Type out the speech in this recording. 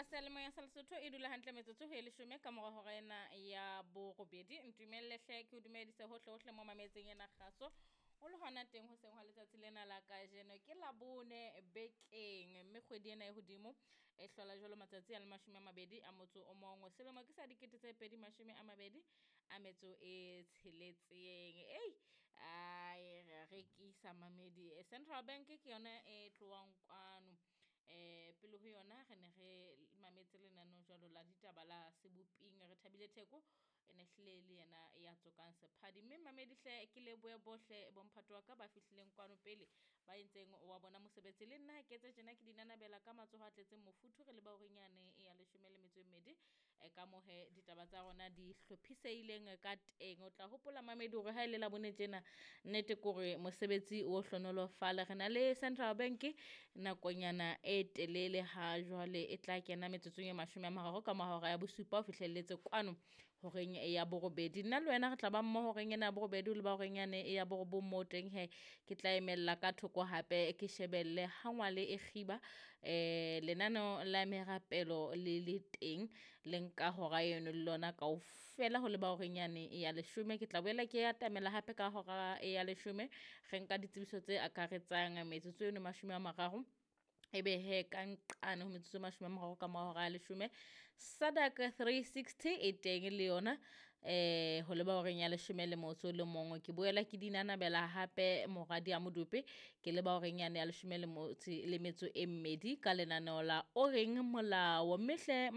Wa seyalemoya sa Lesotho e dula hantle metsotso ho e leshome ka mora hora ena ya borobedi. Ntumelle hle ke o dumedise hohle hohle mo mametseng ena kgaso. O le hona teng hoseng hwa letsatsi lena la kajeno ke Labone bekeng mme kgwedi ena e hodimo e hlola jwalo matsatsi a le 21. Selemo ke sa 2026. Ei, ai re rekisa mamedi. Central Bank ke yona e tlohang kwano. Pele ho yona re ne re mametse lenaneo jwalo la ditaba la Seboping. Re thabile Theko e ne hlile le yena ya tsokang sephadi. Mme mamedi hle ke lebohe bohle bomphato wa ka ba fihlileng kwano pele ba entseng wa bona mosebetsi. Le nna ha ke etse tjena ke di nanabela ka matsoho a tletseng mofuthu re leba horeng yane ya 12 ka mohe ditaba tsa rona di hlophisehileng ka teng. O tla hopola mamedi hore ha e le Labone tjena nnete ke hore mosebetsi o hlonolofale. Re na le Central Bank nakonyana e telele ha jwale e tla kena metsotsong e 30 ka mora hora ya bosupa ho fihlelletse kwano horeng ya borobedi. Nna le wena re tla ba mmoho horeng ena ya borobedi ho leba horeng yane ya borobong moo teng he ke tla emella ka thoko hape ke shebelle ha ngwale e kgiba lenaneo la merapelo le le teng le nka hora eno le lona kaofela ho leba horeng yane ya leshome. Ke tla boela ke atamela hape ka hora ya leshome re nka ditsebiso tse akaretsang metsotso eno 30. Ebe he ka nqane ho metsotso e 30 ka mora hora ya leshome SADC 360 e teng le yona ho leba horeng ya 11. Ke boela ke di nanabela hape moradi ya Modupe ke leba horeng yane ya 12 ka lenaneo la O Reng Molao. Mme hle